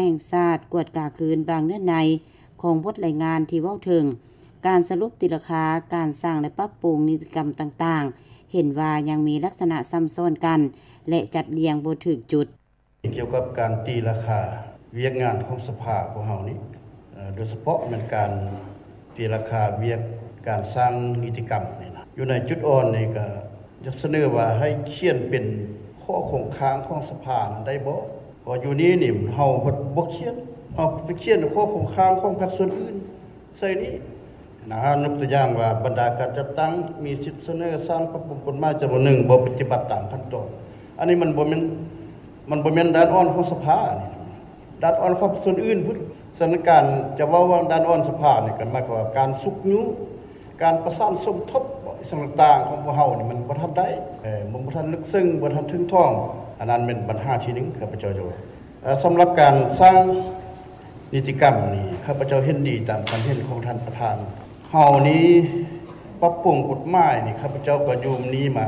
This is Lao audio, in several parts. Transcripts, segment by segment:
ແຫ່ງຊາດກວດກາຄືນບາງເນື້ອໃນຂອງບົດລາຍງານທີ່ເວົ້າເຖິງການສະຫຼຸບຕີລາຄາການສ້າງ ແລະ ປັບປຸງນິຕິກຳຕ່າງໆ ເຫັນວ່າຍັງມີລັກສະນະຊ້ຳຊ້ອນກັນ ແລະ ຈັດລຽງບໍ່ຖືກຈຸດ. ກ່ຽວກັບການຕີລາຄາວຽກງານຂອງສະພາພວກເຮົານີ້ ເອີ ໂດຍສະເພາະແມ່ນການຕີລາຄາວຽກການສ້າງນິຕິກຳນີ້ນະ ຢູ່ໃນຈຸດອ່ອນນີ້ກໍຢາກສະເໜີວ່າໃຫ້ຂຽນເປັນຂໍ້ຄົງຄ້າງຂອງສະພານັ້ນໄດ້ບໍ່? ເພາະຢູ່ນີ້ນີ້ເຮົາບໍ່ຂຽນ ເຮົາໄປຂຽນຂໍ້ຄົງຄ້າງຂອງພາກສ່ວນອື່ນໃສ່ນີ້ ນະ ຍົກຕົວຢ່າງວ່າ ບັນດາການຈັດຕັ້ງມີສິດສະເໜີສ້າງປັບປຸງກົດໝາຍຈຳນວນໜຶ່ງ ບໍ່ປະຕິບັດຕາມຂັ້ນຕອນ. ອັນນີ້ມັນບໍ່ແມ່ນ ມັນບໍ່ແມ່ນດ້ານອ່ອນຂອງສະພານີ້ ດ້ານອ່ອນຂອງສ່ວນອື່ນພຸ້ນ. ສະນັ້ນ ການຈະເວົ້າວ່າດ້ານອ່ອນສະພານີ້ ກໍໝາຍຄວາມວ່າການຊຸກຍູ້ ການປະສານສົມທົບ ອີ່ຫຍັງຕ່າງໆຂອງພວກເຮົານີ້ ມັນບໍ່ທັນໄດ້ ເອີ ມັນບໍ່ທັນເລິກເຊິ່ງ ບໍ່ທັນເຖິງຖອງ. ອັນນັ້ນແມ່ນບັນຫາທີໜຶ່ງ ຂ້າພະເຈົ້າຈະເວົ້າ. ເອີ ສຳລັບການສ້າງນິຕິກຳນີ້ ຂ້າພະເຈົ້າເຫັນດີຕາມຄຳເຫັນຂອງທ່ານປະທານ. ເຮົານີ້ປັບປຸງກົດໝາຍນີ້ ຂ້າພະເຈົ້າກໍຢູ່ນີ້ມາ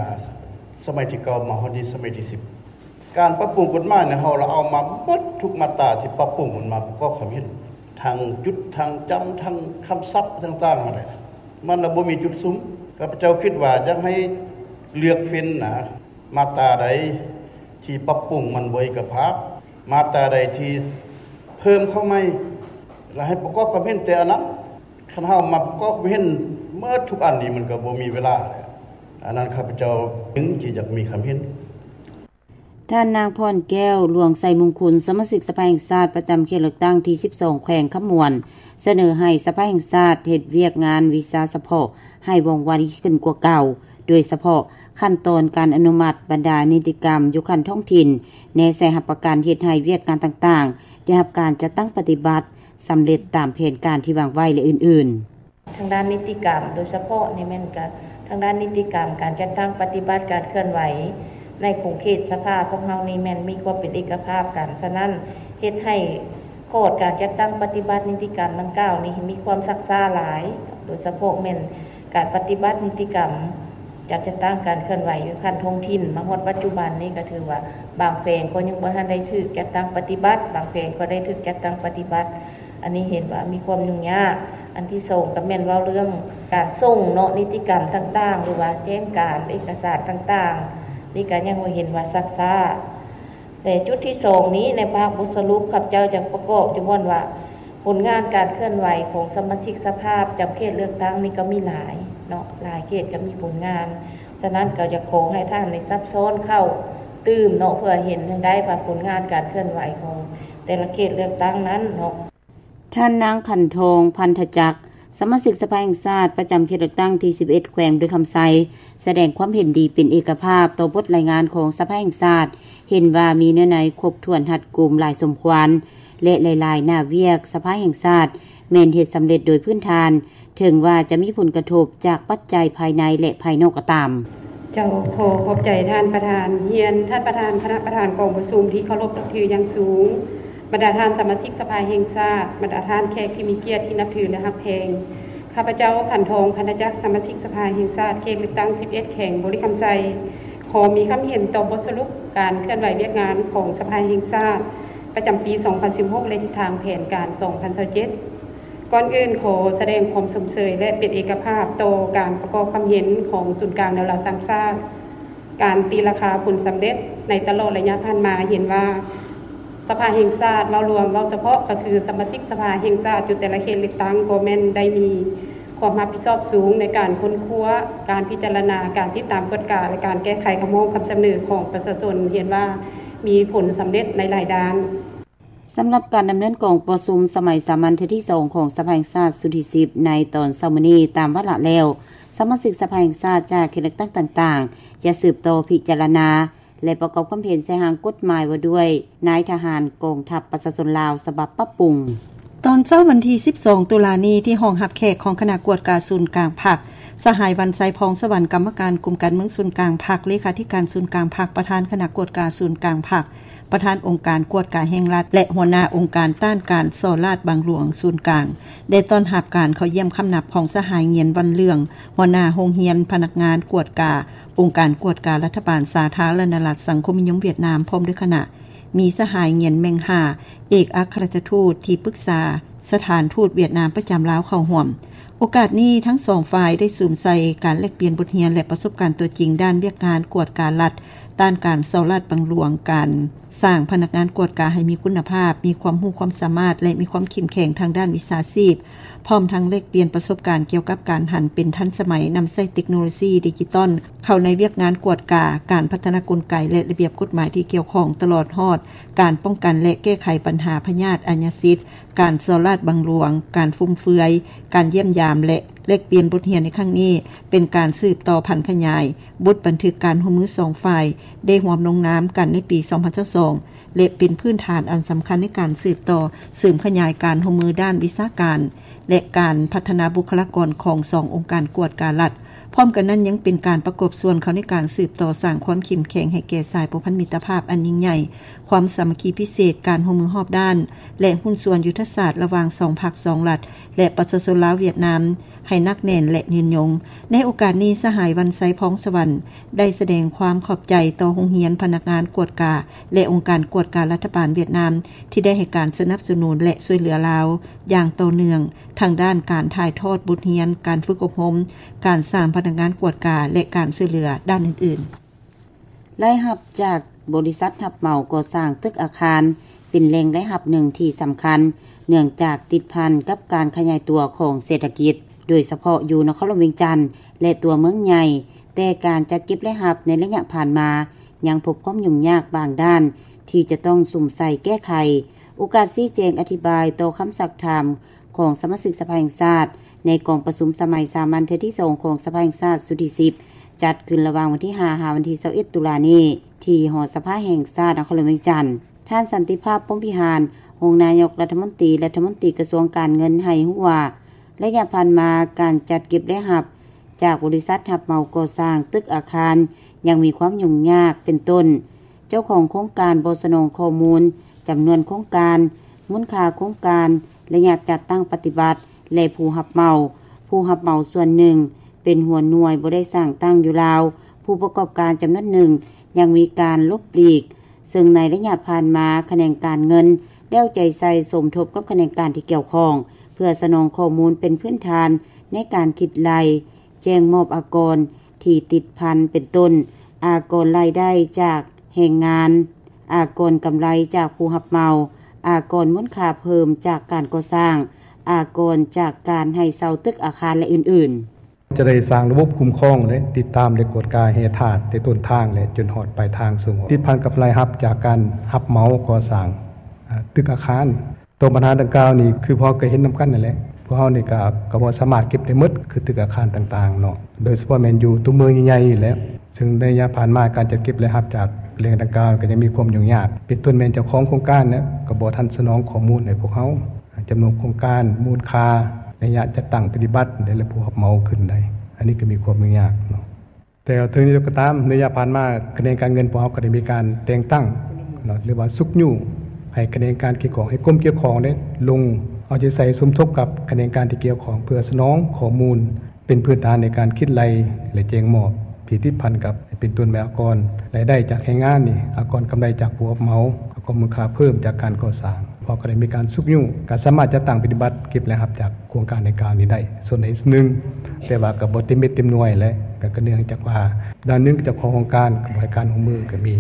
ສະໄໝທີເກົ້າ ມາຮອດນີ້ສະໄໝທີສິບ. ການປັບປຸງກົດໝາຍນີ້ ເຮົາລະເອົາມາໝົດທຸກມາດຕາທີ່ປັບປຸງ ມັນມາປະກອບຄວາມເຫັນ ທັງຈຸດ ທັງຈຳ ທັງຄຳສັບຕ່າງໆຫັ້ນແຫຼະ ມັນລະບໍ່ມີຈຸດສຸມ. ຂ້າພະເຈົ້າຄິດວ່າຢາກໃຫ້ເລືອກເຟັນນະ ມາດຕາໃດທີ່ປັບປຸງມັນບໍ່ເອກະພາບ ມາດຕາໃດທີ່ເພີ່ມເຂົ້າໃໝ່ ລະໃຫ້ປະກອບຄວາມເຫັນແຕ່ອັນນັ້ນ. ຄັນເຮົາມາປະກອບຄວາມເຫັນໝົດທຸກອັນນີ້ ມັນກໍບໍ່ມີເວລາແລ້ວ. ອັນນັ້ນຂ້າພະເຈົ້າຈຶ່ງຊິຢາກມີຄຳເຫັນ. ທ່ານນາງ ພອນແກ້ວ ຫຼວງໄຊມຸງຄຸນ ສະມາຊິກສະພາແຫ່ງຊາດປະຈຳເຂດເລືອກຕັ້ງທີສິບສອງ ແຂວງຄຳມ່ວນ ສະເໜີໃຫ້ສະພາແຫ່ງຊາດເຮັດວຽກງານວິຊາສະເພາະໃຫ້ວ່ອງໄວຂຶ້ນກວ່າເກົ່າ, ໂດຍສະເພາະຂັ້ນຕອນການອະນຸມັດບັນດານິຕິກຳຢູ່ຂັ້ນທ້ອງຖິ່ນ, ແນໃສ່ຮັບປະກັນເຮັດໃຫ້ວຽກງານຕ່າງໆໄດ້ຮັບການຈັດຕັ້ງປະຕິບັດສຳເລັດຕາມແຜນການທີ່ວາງໄວ້ ແລະ ອື່ນໆ. ທາງດ້ານນິຕິກຳ ໂດຍສະເພາະນີ້ແມ່ນກະທາງດ້ານນິຕິກຳ ການຈັດຕັ້ງປະຕິບັດການເຄື່ອນໄຫວໃນຂົງເຂດສະພາພວກເຮົານີ້ແມ່ນມີຄວາມເປັນເອກະພາບກັນ, ສະນັ້ນເຮັດໃຫ້ຂອດການຈັດຕັ້ງປະຕິບັດນິຕິກຳດັ່ງກ່າວນີ້ມີຄວາມຊັກຊ້າຫຼາຍ, ໂດຍສະເພາະແມ່ນການປະຕິບັດນິຕິກຳ ການຈັດຕັ້ງການເຄື່ອນໄຫວຢູ່ຂັ້ນທ້ອງຖິ່ນ ມາຮອດປັດຈຸບັນນີ້ກໍຖືວ່າບາງແຂວງກໍຍັງບໍ່ທັນໄດ້ຖືກຈັດຕັ້ງປະຕິບັດ, ບາງແຂວງກໍໄດ້ຖືກຈັດຕັ້ງປະຕິບັດ. ອັນນີ້ເຫັນວ່າມີຄວາມຫຍຸ້ງຍາກ. ອັນທີສອງກໍແມ່ນເວົ້າເລື່ອງການສົ່ງເນາະ ນິຕິກຳຕ່າງໆ ຫຼືວ່າແຈ້ງການເອກະສານຕ່າງໆ ນີ້ກໍຍັງວ່າເຫັນວ່າຊັກຊ້າ. ແລະ ຈຸດທີສອງນີ້ ໃນພາກບົດສະຫຼຸບ ຂ້າພະເຈົ້າຈະປະກອບຢູ່ບ່ອນວ່າ ຜົນງານການເຄື່ອນໄຫວຂອງສະມາຊິກສະພາປະຈຳເຂດເລືອກຕັ້ງນີ້ກໍມີຫຼາຍເນາະ ຫຼາຍເຂດກໍມີຜົນງານ. ສະນັ້ນກໍຢາກຂໍໃຫ້ທ່ານໄດ້ຊັບຊ້ອນເຂົ້າຕື່ມເນາະ ເພື່ອເຫັນໃຫ້ໄດ້ວ່າຜົນງານການເຄື່ອນໄຫວຂອງແຕ່ລະເຂດເລືອກຕັ້ງນັ້ນເນາະ. ທ່ານນາງ ຂັນທອງ ພັນທະຈັກ ສະມາຊິກສະພາແຫ່ງຊາດປະຈຳເຂດເລືອກຕັ້ງທີສິບເອັດ ແຂວງບໍລິຄຳໄຊ ສະແດງຄວາມເຫັນດີເປັນເອກະພາບຕໍ່ບົດລາຍງານຂອງສະພາແຫ່ງຊາດ, ເຫັນວ່າມີເນື້ອໃນຄົບຖ້ວນຮັດກຸມຫຼາຍສົມຄວນ ແລະ ຫຼາຍໆໜ້າວຽກສະພາແຫ່ງຊາດແມ່ນເຮັດສຳເລັດໂດຍພື້ນຖານ, ເຖິງວ່າຈະມີຜົນກະທົບຈາກປັດໄຈພາຍໃນ ແລະ ພາຍນອກກໍຕາມ. ເຈົ້າ ຂໍຂອບໃຈທ່ານປະທານ, ຮຽນທ່ານປະທານ, ຄະນະປະທານກອງປະຊຸມທີ່ເຄົາລົບນັບຖືຢ່າງສູງ, ບັນດາທ່ານສະມາຊິກສະພາແຫ່ງຊາດ, ບັນດາທ່ານແຂກທີ່ມີກຽດທີ່ນັບຖື ແລະ ຮັກແພງ. ຂ້າພະເຈົ້າ ຂັນທອງ ພັນທະຈັກ ສະມາຊິກສະພາແຫ່ງຊາດ ເຂດເລືອກຕັ້ງສິບເອັດ ແຂວງບໍລິຄຳໄຊ ຂໍມີຄຳເຫັນຕໍ່ບົດສະຫຼຸບການເຄື່ອນໄຫວວຽກງານຂອງສະພາແຫ່ງຊາດ ປະຈຳປີສອງພັນສິບຫົກ ແລະ ທິດທາງແຜນການສອງພັນຊາວເຈັດ. ກ່ອນອື່ນ ຂໍສະແດງຄວາມຊົມເຊີຍ ແລະ ເປັນເອກະພາບຕໍ່ການປະກອບຄວາມເຫັນຂອງສູນກາງແນວລາວສ້າງຊາດ. ການຕີລາຄາຜົນສຳເລັດໃນຕະຫຼອດໄລຍະຜ່ານມາ ເຫັນວ່າສະພາແຫ່ງຊາດເວົ້າລວມ, ເວົ້າສະເພາະກໍຄືສະມາຊິກສະພາແຫ່ງຊາດຢູ່ແຕ່ລະເຂດເລືອກຕັ້ງ ກໍແມ່ນໄດ້ມີຄວາມຮັບຜິດຊອບສູງໃນການຄົ້ນຄວ້າ, ການພິຈາລະນາ, ການຕິດຕາມກວດກາ ແລະ ການແກ້ໄຂຄຳຮ້ອງຄຳສະເໜີຂອງປະຊາຊົນ ເຫັນວ່າມີຜົນສຳເລັດໃນຫຼາຍດ້ານ. ສຳລັບການດຳເນີນກອງປະຊຸມສະໄໝສາມັນເທື່ອທີສອງຂອງສະພາແຫ່ງຊາດຊຸດທີສິບ ໃນຕອນເຊົ້າມື້ນີ້ຕາມວາລະແລ້ວ, ສະມາຊິກສະພາແຫ່ງຊາດຈາກເຂດເລືອກຕັ້ງຕ່າງໆ ຈະສືບຕໍ່ພິຈາລະນາ ແລະ ປະກອບຄວາມເຫັນໃສ່ຮ່າງກົດໝາຍວ່າດ້ວຍນາຍທະຫານກອງທັບປະຊາຊົນລາວ ສະບັບປັບປຸງ. ຕອນເຊົ້າວັນທີສິບສອງ ຕຸລານີ້ ທີ່ຫ້ອງຮັບແຂກຂອງຄະນະກວດກາສູນກາງພັກ, ສະຫາຍ ວັນໄຊ ພອງສະຫວັນ ກຳມະການກົມການເມືອງສູນກາງພັກ, ເລຂາທິການສູນກາງພັກ, ປະທານຄະນະກວດກາສູນກາງພັກ, ປະທານອົງການກວດກາແຫ່ງລັດ ແລະ ຫົວໜ້າອົງການຕ້ານການສໍ້ລາດບັງຫຼວງສູນກາງ ໄດ້ຕ້ອນຮັບການເຂົ້າຢ້ຽມຄຳນັບຂອງສະຫາຍ ງຽນ ວັນເຫຼືອງ ຫົວໜ້າໂຮງຮຽນພະນັກງານກວດກາ ອົງການກວດກາລັດຖະບານສາທາລະນະລັດສັງຄົມນິຍົມຫວຽດນາມ ພ້ອມດ້ວຍຄະນະ. ມີສະຫາຍ ງຽນ ແມັງຮາ ເອກອັກຄະລັດຖະທູດທີ່ປຶກສາສະຖານທູດຫວຽດນາມປະຈຳລາວເຂົ້າຮ່ວມ. ໂອກາດນີ້ ທັງສອງຝ່າຍໄດ້ສຸມໃສ່ການແລກປ່ຽນບົດຮຽນ ແລະ ປະສົບການຕົວຈິງດ້ານວຽກງານກວດກາລັດ, ຕ້ານການສໍ້ລາດບັງຫຼວງ, ການສ້າງພະນັກງານກວດກາໃຫ້ມີຄຸນນະພາບ, ມີຄວາມຮູ້ຄວາມສາມາດ ແລະ ມີຄວາມເຂັ້ມແຂງທາງດ້ານວິຊາຊີບ, ພ້ອມທັງແລກປ່ຽນປະສົບການກ່ຽວກັບການຫັນເປັນທັນສະໄໝ, ນຳໃຊ້ເຕັກໂນໂລຊີດິຈິຕອນເຂົ້າໃນວຽກງານກວດກາ, ການພັດທະນາກົນໄກ ແລະ ລະບຽບກົດໝາຍທີ່ກ່ຽວຂ້ອງ, ຕະຫຼອດຮອດການປ້ອງກັນ ແລະ ແກ້ໄຂບັນຫາພະຍາດອາຍາສິດ, ການສໍ້ລາດບັງຫຼວງ, ການຟຸມເຟືອຍ, ການຢ້ຽມຢາມ ແລະ ແລກປ່ຽນບົດຮຽນໃນຄັ້ງນີ້ ເປັນການສືບຕໍ່ຜັນຂະຫຍາຍບົດບັນທຶກການຮ່ວມມືສອງຝ່າຍໄດ້ຮ່ວມລົງນາມກັນໃນປີສອງພັນຊາວສອງ ແລະ ເປັນພື້ນຖານອັນສຳຄັນໃນການສືບຕໍ່ເສີມຂະຫຍາຍການຮ່ວມມືດ້ານວິຊາການ ແລະ ການພັດທະນາບຸກຄະລາກອນຂອງສອງອົງການກວດກາລັດ. ພ້ອມກັນນັ້ນ ຍັງເປັນການປະກອບສ່ວນເຂົ້າໃນການສືບຕໍ່ສ້າງຄວາມເຂັ້ມແຂງໃຫ້ແກ່ສາຍພົວພັນມິດຕະພາບອັນຍິ່ງໃຫຍ່, ຄວາມສາມັກຄີພິເສດ, ການຮ່ວມມືຮອບດ້ານ ແລະ ຫຸ້ນສ່ວນຍຸດທະສາດລະຫວ່າງສອງພັກສອງລັດ ແລະ ປະຊາຊົນລາວ-ຫວຽດນາມ ໃຫ້ໜັກແໜ້ນ ແລະ ຍືນຍົງ. ໃນໂອກາດນີ້ ສະຫາຍ ວັນໄຊ ພອງສະຫວັນ ໄດ້ສະແດງຄວາມຂອບໃຈຕໍ່ໂຮງຮຽນ, ພະນັກງານກວດກາ ແລະ ອົງການກວດກາລັດຖະບານຫວຽດນາມ ທີ່ໄດ້ໃຫ້ການສະໜັບສະໜູນ ແລະ ຊ່ວຍເຫຼືອລາວຢ່າງຕໍ່ເນື່ອງ ທັງດ້ານການຖ່າຍທອດບົດຮຽນ, ການຝຶກອົບຮົມ, ການສ້າງພະນັກງານກວດກາ ແລະ ການຊ່ວຍເຫຼືອດ້ານອື່ນໆ. ລາຍຮັບຈາກບໍລິສັດຮັບເໝົາກໍ່ສ້າງຕຶກອາຄານ ເປັນແຫຼ່ງລາຍຮັບໜຶ່ງທີ່ສຳຄັນ ເນື່ອງຈາກຕິດພັນກັບການຂະຫຍາຍຕົວຂອງເສດຖະກິດ, ໂດຍສະເພາະຢູ່ນະຄອນຫຼວງວຽງຈັນ ແລະ ຕົວເມືອງໃຫຍ່, ແຕ່ການຈັດເກັບລາຍຮັບໃນໄລຍະຜ່ານມາ ຍັງພົບຄວາມຫຍຸ້ງຍາກບາງດ້ານທີ່ຈະຕ້ອງສຸມໃສ່ແກ້ໄຂ. ໂອກາດຊີ້ແຈງອະທິບາຍຕໍ່ຄຳຊັກຖາມຂອງສະມາຊິກສະພາແຫ່ງຊາດ ໃນກອງປະຊຸມສະໄໝສາມັນເທື່ອທີສອງຂອງສະພາແຫ່ງຊາດຊຸດທີສິບ ຈັດຂຶ້ນລະຫວ່າງວັນທີຫ້າ ຫາວັນທີຊາວເອັດ ຕຸລານີ້ ທີ່ຫໍສະພາແຫ່ງຊາດນະຄອນຫຼວງວຽງຈັນ. ທ່ານ ສັນຕິພາບ ພົມວິຫານ ຮອງນາຍົກລັດຖະມົນຕີ ລັດຖະມົນຕີກະຊວງການເງິນ ໃຫ້ຮູ້ວ່າ ໄລຍະຜ່ານມາ ການຈັດເກັບລາຍຮັບຈາກບໍລິສັດຮັບເໝົາກໍ່ສ້າງຕຶກອາຄານ ຍັງມີຄວາມຫຍຸ້ງຍາກ ເປັນຕົ້ນ ເຈົ້າຂອງໂຄງການບໍ່ສະໜອງຂໍ້ມູນຈຳນວນໂຄງການ, ມູນຄ່າໂຄງການ, ໄລຍະຈັດຕັ້ງປະຕິບັດ ແລະ ຜູ້ຮັບເໝົາ. ຜູ້ຮັບເໝົາສ່ວນໜຶ່ງເປັນຫົວໜ່ວຍບໍ່ໄດ້ສ້າງຕັ້ງຢູ່ລາວ, ຜູ້ປະກອບການຈຳນວນໜຶ່ງຍັງມີການຫຼົບຫຼີກ, ເຊິ່ງໃນໄລຍະຜ່ານມາ ຂະແໜງການເງິນແລ້ວໃຈໃສ່ສົມທົບກັບຂະແໜງການທີ່ກ່ຽວຂ້ອງ ເພື່ອສະໜອງຂໍ້ມູນເປັນພື້ນຖານໃນການຄິດໄລ່ ແຈ້ງມອບອາກອນທີ່ຕິດພັນ ເປັນຕົ້ນ ອາກອນລາຍໄດ້ຈາກແຮງງານ, ອາກອນກຳໄລຈາກຜູ້ຮັບເໝົາ, ອາກອນມູນຄ່າເພີ່ມຈາກການກໍ່ສ້າງ, ອາກອນຈາກການໃຫ້ເຊົ່າຕຶກອາຄານ ແລະ ອື່ນໆ. ຈະໄດ້ສ້າງລະບົບຄຸ້ມຄອງ ແລະ ຕິດຕາມ ແລະ ກວດກາແຮ່ທາດ ແຕ່ຕົ້ນທາງ ແລະ ຈົນຮອດປາຍທາງສົ່ງອອກ ຕິດພັນກັບລາຍຮັບຈາກການຮັບເໝົາກໍ່ສ້າງ ອາ ຕຶກອາຄານ. ຕໍ່ບັນຫາດັ່ງກ່າວນີ້ ຄືພວກເຮົາກໍເຫັນນຳກັນນັ້ນແຫຼະ ພວກເຮົານີ້ກໍ ກໍບໍ່ສາມາດເກັບໄດ້ໝົດ ຄືຕຶກອາຄານຕ່າງໆເນາະ ໂດຍສະເພາະແມ່ນຢູ່ຕົວເມືອງໃຫຍ່ໆແຫຼະ ເຊິ່ງໃນໄລຍະຜ່ານມາ ການຈັດເກັບລາຍຮັບຈາກແຫຼ່ງດັ່ງກ່າວ ກໍຍັງມີຄວາມຫຍຸ້ງຍາກ ເປັນຕົ້ນແມ່ນເຈົ້າຂອງໂຄງການເນາະ ກໍບໍ່ທັນສະໜອງຂໍ້ມູນໃຫ້ພວກເຮົາ ຈຳນວນໂຄງການ, ມູນຄ່າ, ໄລຍະຈັດຕັ້ງປະຕິບັດ ແລະ ຜູ້ຮັບເໝົາຂຶ້ນໄດ້ ອັນນີ້ກໍມີຄວາມຫຍຸ້ງຍາກເນາະ. ແຕ່ເຖິງຢ່າງໃດກໍຕາມ ໃນໄລຍະຜ່ານມາ ຂະແໜງການເງິນພວກເຮົາກໍໄດ້ມີການແຕ່ງຕັ້ງເນາະ ຫຼືວ່າຊຸກຍູ້ໃຫ້ຂະແໜງການກ່ຽວຂ້ອງ ໃຫ້ກົມກ່ຽວຂ້ອງເດ້ລົງເອົາໃຈໃສ່ສົມທົບກັບຂະແໜງການທີ່ກ່ຽວຂ້ອງ ເພື່ອສະໜອງຂໍ້ມູນເປັນພື້ນຖານໃນການຄິດໄລ່ ແລະ ແຈ້ງມອບທີ່ຕິດພັນກັບ ເປັນຕົ້ນແມ່ນອາກອນລາຍໄດ້ຈາກແຮງງານນີ້ ອາກອນກຳໄລຈາກຜູ້ຮັບເໝົາ, ອາກອນມູນຄ່າເພີ່ມຈາກການກໍ່ສ້າງ. ພວກເຮົາກໍໄດ້ມີການຊຸກຍູ້ ການສາມາດຈັດຕັ້ງປະຕິບັດເກັບລາຍຮັບຈາກໂຄງການດັ່ງກ່າວນີ້ໄດ້ສ່ວນໃດສ່ວນໜຶ່ງ ແຕ່ວ່າກໍບໍ່ເຕັມເມັດເຕັມໜ່ວຍແຫຼະ ກໍເນື່ອງຈາກວ່າດ້ານໜຶ່ງເຈົ້າຂອງໂຄງການກໍບໍ່ໃຫ້ການຮ່ວມມືກໍມີ.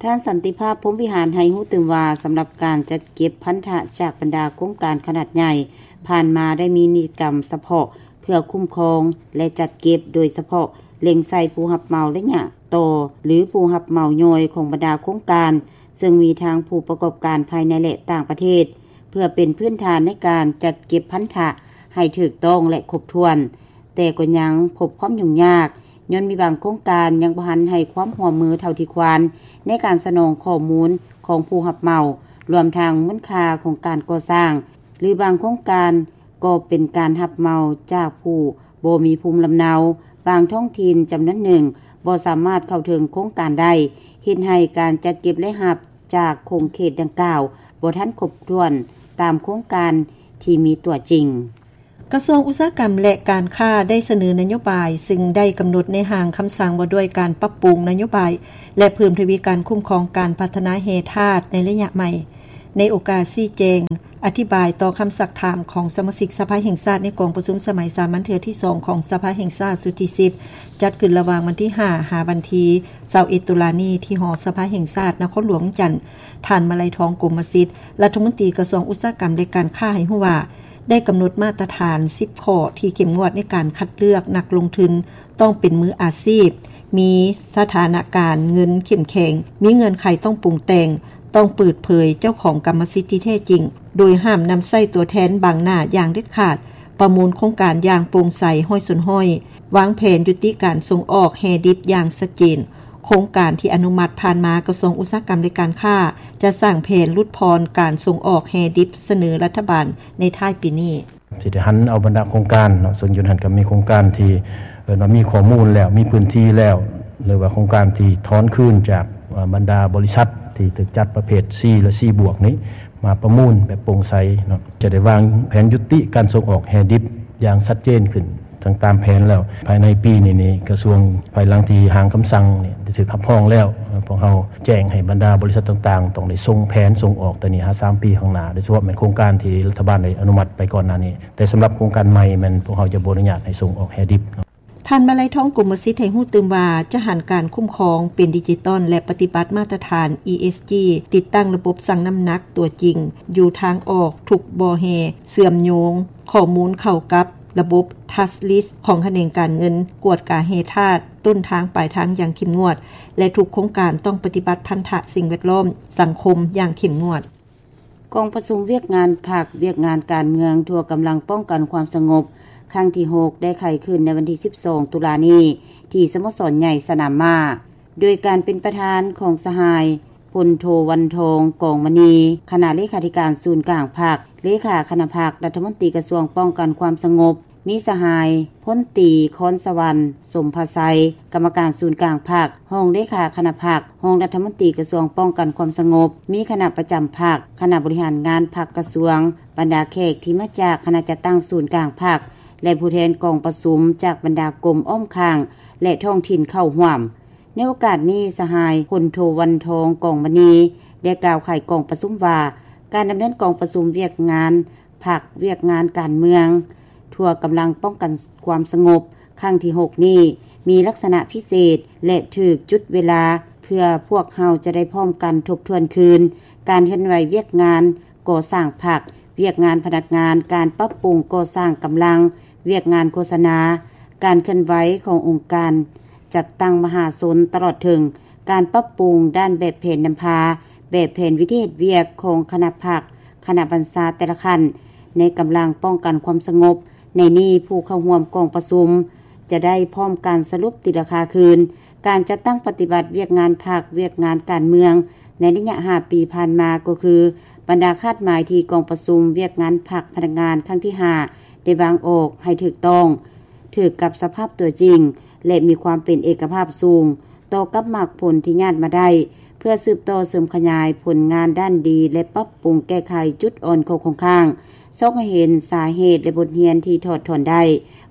ທ່ານ ສັນຕິພາບ ພົມວິຫານ ໃຫ້ຮູ້ຕື່ມວ່າ ສຳລັບການຈັດເກັບພັນທະຈາກບັນດາໂຄງການຂະໜາດໃຫຍ່ ຜ່ານມາໄດ້ມີນິຕິກຳສະເພາະເພື່ອຄຸ້ມຄອງ ແລະ ຈັດເກັບ ໂດຍສະເພາະເລັງໃສ່ຜູ້ຮັບເໝົາໄລຍະຕໍ່ ຫຼື ຜູ້ຮັບເໝົາຍ່ອຍຂອງບັນດາໂຄງການ ເຊິ່ງມີທັງຜູ້ປະກອບການພາຍໃນ ແລະ ຕ່າງປະເທດ ເພື່ອເປັນພື້ນຖານໃນການຈັດເກັບພັນທະໃຫ້ຖືກຕ້ອງ ແລະ ຄົບຖ້ວນ, ແຕ່ກໍຍັງພົບຄວາມຫຍຸ້ງຍາກ ຍ້ອນມີບາງໂຄງການຍັງບໍ່ທັນໃຫ້ຄວາມຮ່ວມມືເທົ່າທີ່ຄວນ ໃນການສະໜອງຂໍ້ມູນຂອງຜູ້ຮັບເໝົາ, ລວມທັງມູນຄ່າຂອງການກໍ່ສ້າງ ຫຼື ບາງໂຄງການ ກໍເປັນການຮັບເໝົາຈາກຜູ້ບໍ່ມີພູມລຳເນົາ, ບາງທ້ອງຖິ່ນຈຳນວນໜຶ່ງບໍ່ສາມາດເຂົ້າເຖິງໂຄງການໄດ້, ເຮັດໃຫ້ການຈັດເກັບລາຍຮັບຈາກຂົງເຂດດັ່ງກ່າວບໍ່ທັນຄົບຖ້ວນຕາມໂຄງການທີ່ມີຕົວຈິງ. ກະຊວງອຸດສາຫະກຳ ແລະ ການຄ້າ ໄດ້ສະເໜີນະໂຍບາຍ ຊຶ່ງໄດ້ກຳນົດໃນຮ່າງຄຳສັ່ງວ່າດ້ວຍການປັບປຸງນະໂຍບາຍ ແລະ ເພີ່ມທະວີການຄຸ້ມຄອງການພັດທະນາແຮ່ທາດໃນໄລຍະໃໝ່. ໃນໂອກາດຊີ້ແຈງອະທິບາຍຕໍ່ຄຳຊັກຖາມຂອງສະມາຊິກສະພາແຫ່ງຊາດ ໃນກອງປະຊຸມສະໄໝສາມັນເທື່ອທີສອງຂອງສະພາແຫ່ງຊາດຊຸດທີສິບ ຈັດຂຶ້ນລະຫວ່າງວັນທີຫ້າ ຫາວັນທີຊາວເອັດ ຕຸລານີ້ ທີ່ຫໍສະພາແຫ່ງຊາດ ນະຄອນຫຼວງວຽງຈັນ, ທ່ານ ມະໄລທອງ ກົມມະສິດ ລັດຖະມົນຕີກະຊວງອຸດສາຫະກຳ ແລະ ການຄ້າ ໃຫ້ຮູ້ວ່າ ໄດ້ກຳນົດມາດຕະຖານສິບຂໍ້ທີ່ເຂັ້ມງວດໃນການຄັດເລືອກນັກລົງທຶນ, ຕ້ອງເປັນມືອາຊີບ, ມີສະຖານະການເງິນເຂັ້ມແຂງ, ມີເງື່ອນໄຂຕ້ອງປຸງແຕ່ງ, ຕ້ອງເປີດເຜີຍເຈົ້າຂອງກຳມະສິດທີ່ແທ້ຈິງ, ໂດຍຫ້າມນຳໃຊ້ຕົວແທນບັງໜ້າຢ່າງເດັດຂາດ, ປະມູນໂຄງການຢ່າງໂປ່ງໃສຮ້ອຍສ່ວນຮ້ອຍ, ວາງແຜນຍຸຕິການສົ່ງອອກແຮ່ດິບຢ່າງຊັດເຈນ. ໂຄງການທີ່ອະນຸມັດຜ່ານມາ ກະຊວງອຸດສາຫະກຳ ແລະ ການຄ້າ ຈະສ້າງແຜນຫຼຸດຜ່ອນການສົ່ງອອກແຮ່ດິບສະເໜີລັດຖະບານໃນທ້າຍປີນີ້. ຊິໄດ້ຫັນເອົາບັນດາໂຄງການເນາະ, ເຊິ່ງຢູ່ຫັ້ນກໍມີໂຄງການທີ່ເອີ້ນວ່າມີຂໍ້ມູນແລ້ວ, ມີພື້ນທີ່ແລ້ວ, ຫຼືວ່າໂຄງການທີ່ຖອນຄືນຈາກ ເອີ ບັນດາບໍລິສັດທີ່ຖືກຈັດປະເພດ C ແລະ C ບວກນີ້ ມາປະມູນແບບໂປ່ງໃສເນາະ, ຈະໄດ້ວາງແຜນຍຸຕິການສົ່ງອອກແຮ່ດິບຢ່າງຊັດເຈນຂຶ້ນ ທັງຕາມແຜນແລ້ວ. ພາຍໃນປີນີ້ນີ້ ກະຊວງ ພາຍຫຼັງທີ່ຮ່າງຄຳສັ່ງນີ້ໄດ້ຖືກຮັບຮອງແລ້ວ, ພວກເຮົາແຈ້ງໃຫ້ບັນດາບໍລິສັດຕ່າງໆ ຕ້ອງໄດ້ສົ່ງແຜນສົ່ງອອກແຕ່ນີ້ຫາສາມປີຂ້າງໜ້າ, ໂດຍສະເພາະແມ່ນໂຄງການທີ່ລັດຖະບານໄດ້ອະນຸມັດໄປກ່ອນໜ້ານີ້, ແຕ່ສຳລັບໂຄງການໃໝ່ແມ່ນພວກເຮົາຈະບໍ່ອະນຸຍາດໃຫ້ສົ່ງອອກແຮ່ດິບ. ທ່ານ ມະໄລທອງ ກົມມະສິດ ໃຫ້ຮູ້ຕື່ມວ່າ ຈະຫັນການຄຸ້ມຄອງເປັນດິຈິຕອນ ແລະ ປະຕິບັດມາດຕະຖານ ESG, ຕິດຕັ້ງລະບົບຊັ່ງນ້ຳໜັກຕົວຈິງຢູ່ທາງອອກທຸກບໍ່ແຮ່, ເຊື່ອມໂຍງຂໍ້ມູນເຂົ້າກັບລະບົບ Touchless ຂອງຂະແໜງການເງິນ, ກວດກາແຮ່ທາດຕົ້ນທາງປາຍທາງຢ່າງເຂັ້ມງວດ ແລະ ທຸກໂຄງການຕ້ອງປະຕິບັດພັນທະສິ່ງແວດລ້ອມ, ສັງຄົມຢ່າງເຂັ້ມງວດ. ກອງປະຊຸມວຽກງານພັກ, ວຽກງານການເມືອງ ທົ່ວກຳລັງປ້ອງກັນຄວາມສະຫງົບ ຄັ້ງທີຫົກ ໄດ້ໄຂຂຶ້ນໃນວັນທີສິບສອງ ຕຸລານີ້ ທີ່ສະໂມສອນໃຫຍ່ສະໜາມມ້າ ໂດຍການເປັນປະທານຂອງສະຫາຍ ພົນໂທ ວັນທອງ ກອງມະນີ ຄະນະເລຂາທິການສູນກາງພັກ, ເລຂາຄະນະພັກ, ລັດຖະມົນຕີກະຊວງປ້ອງກັນຄວາມສະຫງົບ, ມີສະຫາຍ ພົນຕີ ຄອນສະຫວັນ ສົມພະໄຊ ກຳມະການສູນກາງພັກ, ຮອງເລຂາຄະນະພັກ, ຮອງລັດຖະມົນຕີກະຊວງປ້ອງກັນຄວາມສະຫງົບ, ມີຄະນະປະຈຳພັກ, ຄະນະບໍລິຫານງານພັກກະຊວງ, ບັນດາແຂກທີ່ມາຈາກຄະນະຈັດຕັ້ງສູນກາງພັກ ແລະ ຜູ້ແທນກອງປະຊຸມຈາກບັນດາກົມອ້ອມຂ້າງ ແລະ ທ້ອງຖິ່ນເຂົ້າຮ່ວມ. ໃນໂອກາດນີ້ ສະຫາຍ ພົນໂທ ວັນທອງ ກອງມະນີ ໄດ້ກ່າວໄຂກອງປະຊຸມວ່າ ການດຳເນີນກອງປະຊຸມວຽກງານພັກ, ວຽກງານການເມືອງ ທົ່ວກຳລັງປ້ອງກັນຄວາມສະຫງົບ ຄັ້ງທີຫົກນີ້ ມີລັກສະນະພິເສດ ແລະ ຖືກຈຸດເວລາ ເພື່ອພວກເຮົາຈະໄດ້ພ້ອມກັນທົບທວນຄືນ ການເຄື່ອນໄຫວວຽກງານກໍ່ສ້າງພັກ, ວຽກງານພະນັກງານ, ການປັບປຸງກໍ່ສ້າງກຳລັງ, ວຽກງານໂຄສະນາ, ການເຄື່ອນໄຫວຂອງອົງການຈັດຕັ້ງມະຫາຊົນ, ຕະຫຼອດເຖິງການປັບປຸງດ້ານແບບແຜນນຳພາ, ແບບແຜນວິທີເຮັດວຽກຂອງຄະນະພັກ, ຄະນະບັນຊາແຕ່ລະຂັ້ນ ໃນກຳລັງປ້ອງກັນຄວາມສະຫງົບ. ໃນນີ້ ຜູ້ເຂົ້າຮ່ວມກອງປະຊຸມຈະໄດ້ພ້ອມກັນສະຫຼຸບຕີລາຄາຄືນ ການຈັດຕັ້ງປະຕິບັດວຽກງານພັກ, ວຽກງານການເມືອງ ໃນໄລຍະຫ້າປີຜ່ານມາ ກໍຄື ບັນດາຄາດໝາຍທີ່ກອງປະຊຸມວຽກງານພັກພະນັກງານຄັ້ງທີຫ້າ ໄດ້ວາງອອກໃຫ້ຖືກຕ້ອງ, ຖືກກັບສະພາບຕົວຈິງ ແລະ ມີຄວາມເປັນເອກະພາບສູງ ຕໍ່ກັບໝາກຜົນທີ່ຍາດມາໄດ້ ເພື່ອສືບຕໍ່ເສີມຂະຫຍາຍຜົນງານດ້ານດີ ແລະ ປັບປຸງແກ້ໄຂຈຸດອ່ອນຂໍ້ຄົງຄ້າງ, ຊອກໃຫ້ເຫັນສາເຫດ ແລະ ບົດຮຽນທີ່ຖອດຖອນໄດ້,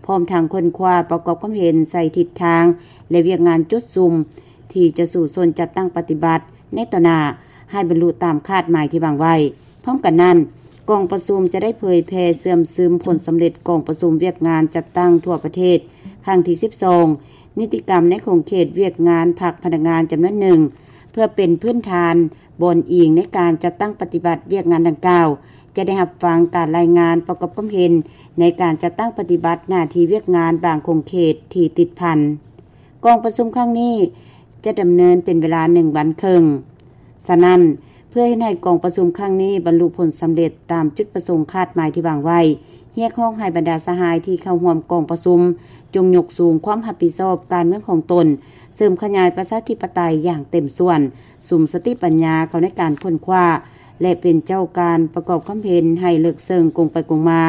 ພ້ອມທັງຄົ້ນຄວ້າປະກອບຄວາມເຫັນໃສ່ທິດທາງ ແລະ ວຽກງານຈຸດສຸມ ທີ່ຈະສູ້ຊົນຈັດຕັ້ງປະຕິບັດໃນຕໍ່ໜ້າ ໃຫ້ບັນລຸຕາມຄາດໝາຍທີ່ວາງໄວ້. ພ້ອມກັນນັ້ນ, ກອງປະຊຸມຈະໄດ້ເຜີຍແຜ່ເຊື່ອມຊຶມຜົນສຳເລັດກອງປະຊຸມວຽກງານຈັດຕັ້ງທົ່ວປະເທດ ຄັ້ງທີສິບສອງ, ນິຕິກຳໃນຂົງເຂດວຽກງານພັກພະນັກງານຈຳນວນໜຶ່ງ ເພື່ອເປັນພື້ນຖານບ່ອນອີງໃນການຈັດຕັ້ງປະຕິບັດວຽກງານດັ່ງກ່າວ, ຈະໄດ້ຮັບຟັງການລາຍງານປະກອບຄວາມເຫັນໃນການຈັດຕັ້ງປະຕິບັດໜ້າທີ່ວຽກງານບາງຂົງເຂດທີ່ຕິດພັນ. ກອງປະຊຸມຄັ້ງນີ້ຈະດຳເນີນເປັນເວລາໜຶ່ງວັນເຄິ່ງ. ສະນັ້ນ, ເພື່ອເຮັດໃຫ້ກອງປະຊຸມຄັ້ງນີ້ບັນລຸຜົນສຳເລັດຕາມຈຸດປະສົງຄາດໝາຍທີ່ວາງໄວ້, ຮຽກຮ້ອງໃຫ້ບັນດາສະຫາຍທີ່ເຂົ້າຮ່ວມກອງປະຊຸມ ຈົ່ງຍົກສູງຄວາມຮັບຜິດຊອບການເມືອງຂອງຕົນ, ເສີມຂະຫຍາຍປະຊາທິປະໄຕຢ່າງເຕັມສ່ວນ, ສຸມສະຕິປັນຍາເຂົ້າໃນການຄົ້ນຄວ້າ ແລະ ເປັນເຈົ້າການປະກອບຄວາມເຫັນໃຫ້ເລິກເຊິ່ງກົງໄປກົງມາ,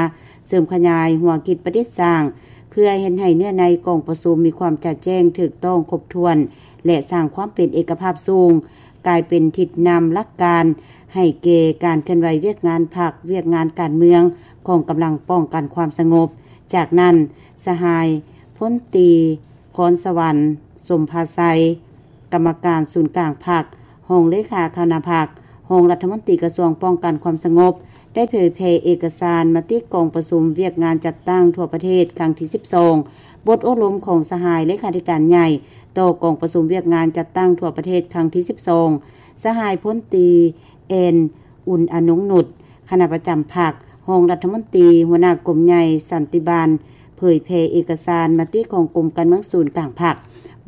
ເສີມຂະຫຍາຍຫົວຄິດປະດິດສ້າງ ເພື່ອເຮັດໃຫ້ເນື້ອໃນກອງປະຊຸມມີຄວາມຈະແຈ້ງ, ຖືກຕ້ອງ, ຄົບຖ້ວນ ແລະ ສ້າງຄວາມເປັນເອກະພາບສູງ ກາຍເປັນທິດນຳຫຼັກການໃຫ້ແກ່ການເຄື່ອນໄຫວວຽກງານພັກ, ວຽກງານການເມືອງຂອງກຳລັງປ້ອງກັນຄວາມສະຫງົບ. ຈາກນັ້ນ, ສະຫາຍພົນຕີ ຄອນສະຫວັນ ສົມພາໄຊ ກຳມະການສູນກາງພັກ, ຮອງເລຂາຄະນະພັກ, ຮອງລັດຖະມົນຕີກະຊວງປ້ອງກັນຄວາມສະຫງົບ ໄດ້ເຜີຍແຜ່ເອກະສານມະຕິກອງປະຊຸມວຽກງານຈັດຕັ້ງທົ່ວປະເທດຄັ້ງທີສິບສອງ, ບົດໂອ້ລົມຂອງສະຫາຍເລຂາທິການໃຫຍ່ຕໍ່ກອງປະຊຸມວຽກງານຈັດຕັ້ງທົ່ວປະເທດຄັ້ງທີສິບສອງ, ສະຫາຍພົນຕີ ແອນ ອຸ່ນອະນົງນຸດ ຄະນະປະຈຳພັກ, ຮອງລັດຖະມົນຕີ, ຫົວໜ້າກົມໃຫຍ່ສັນຕິບານ ເຜີຍແຜ່ເອກະສານມະຕິຂອງກົມການເມືອງສູນກາງພັກ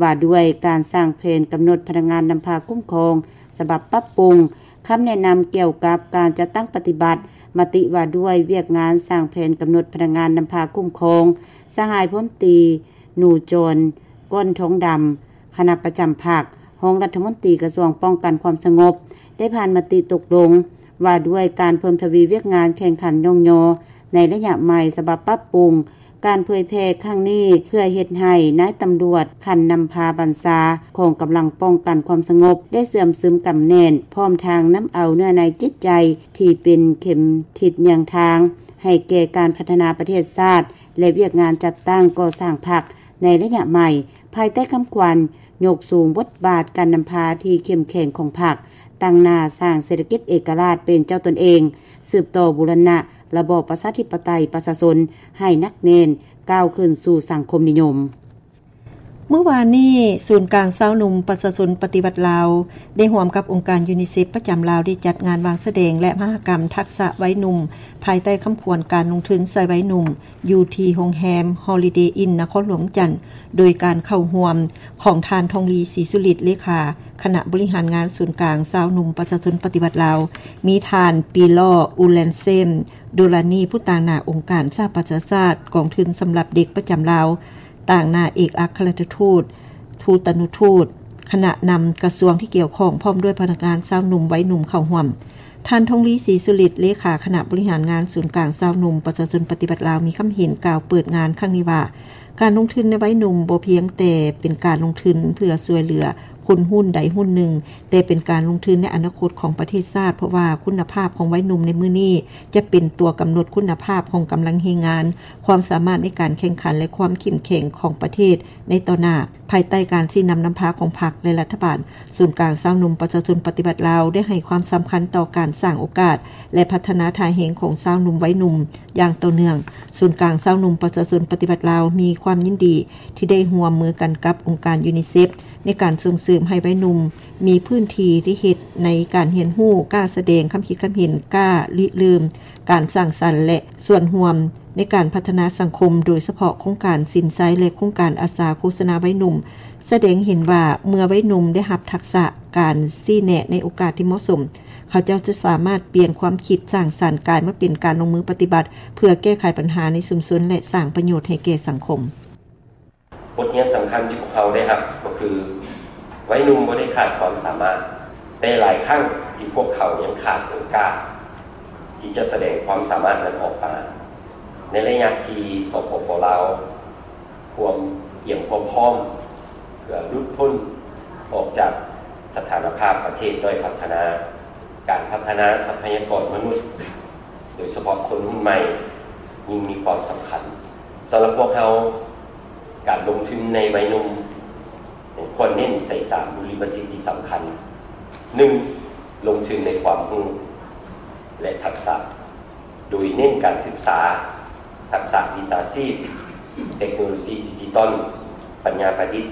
ວ່າດ້ວຍການສ້າງແຜນກຳນົດພະນັກງານນຳພາຄຸ້ມຄອງ ສະບັບປັບປຸງ, ຄຳແນະນຳກ່ຽວກັບການຈັດຕັ້ງປະຕິບັດມະຕິວ່າດ້ວຍວຽກງານສ້າງແຜນກຳນົດພະນັກງານນຳພາຄຸ້ມຄອງ, ສະຫາຍພົນຕີ ໜູຈອນ ກ້ອນທອງດຳ ຄະນະປະຈຳພັກ, ຮອງລັດຖະມົນຕີກະຊວງປ້ອງກັນຄວາມສະຫງົບ ໄດ້ຜ່ານມະຕິຕົກລົງວ່າດ້ວຍການເພີ່ມທະວີວຽກງານແຂ່ງຂັນຍ້ອງຍໍໃນໄລຍະໃໝ່ ສະບັບປັບປຸງ. ການເຜີຍແຜ່ຄັ້ງນີ້ເພື່ອເຮັດໃຫ້ນາຍຕຳຫຼວດຂັ້ນນຳພາບັນຊາຂອງກຳລັງປ້ອງກັນຄວາມສະຫງົບໄດ້ເຊື່ອມຊຶມກຳແໜ້ນ, ພ້ອມທັງນຳເອົາເນື້ອໃນຈິດໃຈທີ່ເປັນເຂັມທິດຍ່າງທາງໃຫ້ແກ່ການພັດທະນາປະເທດຊາດ ແລະ ວຽກງານຈັດຕັ້ງກໍ່ສ້າງພັກໃນໄລຍະໃໝ່. ພາຍໃຕ້ຄຳຂວັນ ຍົກສູງບົດບາດການນຳພາທີ່ເຂັ້ມແຂງຂອງພັກ, ຕັ້ງໜ້າສ້າງເສດຖະກິດເອກະລາດເປັນເຈົ້າຕົນເອງ, ສືບຕໍ່ບູລະນະລະບອບປະຊາທິປະໄຕປະຊາຊົນໃຫ້ໜັກແໜ້ນ, ກ້າວຂຶ້ນສູ່ສັງຄົມນິຍົມ. ມື້ວານນີ້, ສູນກາງຊາວໜຸ່ມປະຊາຊົນປະຕິວັດລາວ ໄດ້ຮ່ວມກັບອົງການຢູນິເຊັບປະຈຳລາວ ໄດ້ຈັດງານວາງສະແດງ ແລະ ມະຫະກຳທັກສະໄວໜຸ່ມ ພາຍໃຕ້ຄຳຂວັນການລົງທຶນໃສ່ໄວໜຸ່ມ ຢູ່ທີ່ໂຮງແຮມ Holiday Inn ນະຄອນຫຼວງວຽງຈັນ ໂດຍການເຂົ້າຮ່ວມຂອງທ່ານ ທອງລີ ສີສຸລິດ ເລຂາຄະນະບໍລິຫານງານສູນກາງຊາວໜຸ່ມປະຊາຊົນປະຕິວັດລາວ, ມີທ່ານ ປີລໍ ອູແລນເຊມ ໂດລານີ ຜູ້ຕາງໜ້າອົງການສະຫະປະຊາຊາດ ກອງທຶນສຳລັບເດັກປະຈຳລາວ, ຕາງໜ້າເອກອັກຄະລັດຖະທູດ, ທູຕະນຸທູດ, ຄະນະນຳກະຊວງທີ່ກ່ຽວຂ້ອງ ພ້ອມດ້ວຍພະນັກງານຊາວໜຸ່ມໄວໜຸ່ມເຂົ້າຮ່ວມ. ທ່ານ ທອງລີ ສີສຸລິດ ເລຂາຄະນະບໍລິຫານງານສູນກາງຊາວໜຸ່ມປະຊາຊົນປະຕິວັດລາວ ມີຄຳເຫັນກ່າວເປີດງານຄັ້ງນີ້ວ່າ, ການລົງທຶນໃນໄວໜຸ່ມບໍ່ພຽງແຕ່ເປັນການລົງທຶນເພື່ອຊ່ວຍເຫຼືອຄົນຮຸ່ນໃດຮຸ່ນໜຶ່ງ, ແຕ່ເປັນການລົງທຶນໃນອະນາຄົດຂອງປະເທດຊາດ, ເພາະວ່າຄຸນນະພາບຂອງໄວໜຸ່ມໃນມື້ນີ້ຈະເປັນຕົວກຳນົດຄຸນນະພາບຂອງກຳລັງແຮງງານ, ຄວາມສາມາດໃນການແຂ່ງຂັນ ແລະ ຄວາມເຂັ້ມແຂງຂອງປະເທດໃນຕໍ່ໜ້າ. ພາຍໃຕ້ການຊີ້ນຳນຳພາຂອງພັກ ແລະ ລັດຖະບານ, ສູນກາງຊາວໜຸ່ມປະຊາຊົນປະຕິວັດລາວ ໄດ້ໃຫ້ຄວາມສຳຄັນຕໍ່ການສ້າງໂອກາດ ແລະ ພັດທະນາທ່າແຮງຂອງຊາວໜຸ່ມໄວໜຸ່ມຢ່າງຕໍ່ເນື່ອງ. ສູນກາງຊາວໜຸ່ມປະຊາຊົນປະຕິວັດລາວ ມີຄວາມຍິນດີທີ່ໄດ້ຮ່ວມມືກັນກັບອົງການຢູນິເຊັບ ໃນການສົ່ງເສີມໃຫ້ໄວໜຸ່ມມີພື້ນທີ່ທີ່ເຮັດໃນການຮຽນຮູ້, ກ້າສະແດງຄຳຄິດຄຳເຫັນ, ກ້າລິເລີ່ມການສ້າງສັນ ແລະ ສ່ວນຮ່ວມໃນການພັດທະນາສັງຄົມ, ໂດຍສະເພາະໂຄງການສິນໄຊ ແລະ ໂຄງການອາສາໂຄສະນາໄວໜຸ່ມ ສະແດງເຫັນວ່າ ເມື່ອໄວໜຸ່ມໄດ້ຮັບທັກສະການຊີ້ແນະໃນໂອກາດທີ່ເໝາະສົມ, ເຂົາເຈົ້າຈະສາມາດປ່ຽນຄວາມຄິດສ້າງສັນກາຍມາເປັນການລົງມືປະຕິບັດ ເພື່ອແກ້ໄຂບັນຫາໃນຊຸມຊົນ ແລະ ສ້າງປະໂຫຍດໃຫ້ແກ່ສັງຄົມ. ບົດຮຽນສຳຄັນທີ່ພວກເຮົາໄດ້ຮັບກໍຄື ໄວໜຸ່ມບໍ່ໄດ້ຂາດຄວາມສາມາດ, ແຕ່ຫຼາຍຄັ້ງທີ່ພວກເຂົາຍັງຂາດໂອກາດທີ່ຈະສະແດງຄວາມສາມາດນັ້ນອອກມາ. ໃນໄລຍະທີ່ ສປປ ລາວ ພວມກຽມຄວາມພ້ອມເພື່ອຫຼຸດພົ້ນອອກຈາກສະຖານະພາບປະເທດດ້ອຍພັດທະນາ, ການພັດທະນາຊັບພະຍາກອນມະນຸດ ໂດຍສະເພາະຄົນຮຸ່ນໃໝ່ ຍິ່ງມີຄວາມສຳຄັນ. ສຳລັບພວກເຮົາ, ການລົງທຶນໃນໄວໜຸ່ມ ຄວນເນັ້ນໃສ່ສາມບູລິປະສິດທີ່ສຳຄັນ. ໜຶ່ງ, ລົງທຶນໃນຄວາມຮູ້ ແລະ ທັກສະ, ໂດຍເນັ້ນການສຶກສາ, ທັກສະວິຊາຊີບ, ເຕັກໂນໂລຊີດິຈິຕອນ, ປັນຍາປະດິດ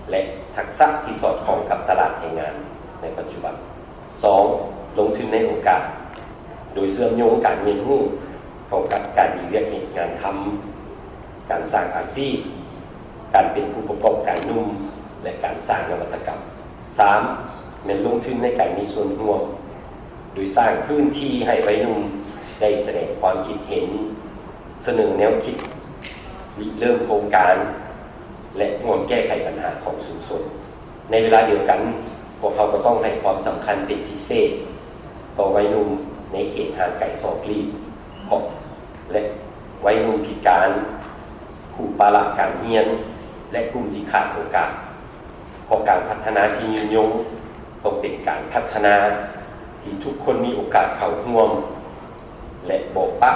ແລະ ທັກສະທີ່ສອດຄ່ອງກັບຕະຫຼາດແຮງງານໃນປັດຈຸບັນ. ສອງ, ລົງທຶນໃນໂອກາດ, ໂດຍເຊື່ອມໂຍງການຮຽນຮູ້ເຂົ້າກັບການມີວຽກເຮັດງານທຳ, ການສ້າງອາຊີບ, ການເປັນຜູ້ປະກອບການໜຸ່ມ ແລະ ການສ້າງນະວັດຕະກຳ. ສາມ, ແມ່ນລົງທຶນໃນການມີສ່ວນຮ່ວມ, ໂດຍສ້າງພື້ນທີ່ໃຫ້ໄວໜຸ່ມໄດ້ສະແດງຄວາມຄິດເຫັນ, ສະເໜີແນວຄິດ, ລິເລີ່ມໂຄງການ ແລະ ຮ່ວມແກ້ໄຂບັນຫາຂອງຊຸມຊົນ. ໃນເວລາດຽວກັນ, ພວກເຮົາກໍຕ້ອງໃຫ້ຄວາມສຳຄັນເປັນພິເສດຕໍ່ໄວໜຸ່ມໃນເຂດຫ່າງໄກສອກຫຼີກ, ເພາະ ແລະ ໄວໜຸ່ມພິການ, ຜູ້ປະລະການຮຽນ ແລະ ກຸ່ມທີ່ຂາດໂອກາດ, ເພາະການພັດທະນາທີ່ຍືນຍົງ ຕ້ອງເປັນການພັດທະນາທີ່ທຸກຄົນມີໂອກາດເຂົ້າຮ່ວມ ແລະ ບໍ່ປະ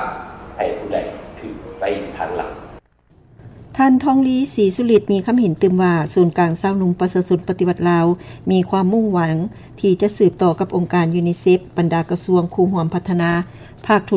ໃຫ້ຜູ້ໃດຖືກໄວ້ທາງຫຼັງ. ທ່ານ ທອງລີ ສີສຸລິດ ມີຄຳເຫັນຕື່ມວ່າ ສູນກາງຊາວໜຸ່ມປະຊາຊົນປະຕິວັດລາວ ມີຄວາມມຸ່ງຫວັງທີ່ຈະສືບຕໍ່ກັບອົງການ UNICEF, ບັນດາກະຊວງຄູ່ຮ່ວມພັດທະນາ, ພາກທຸ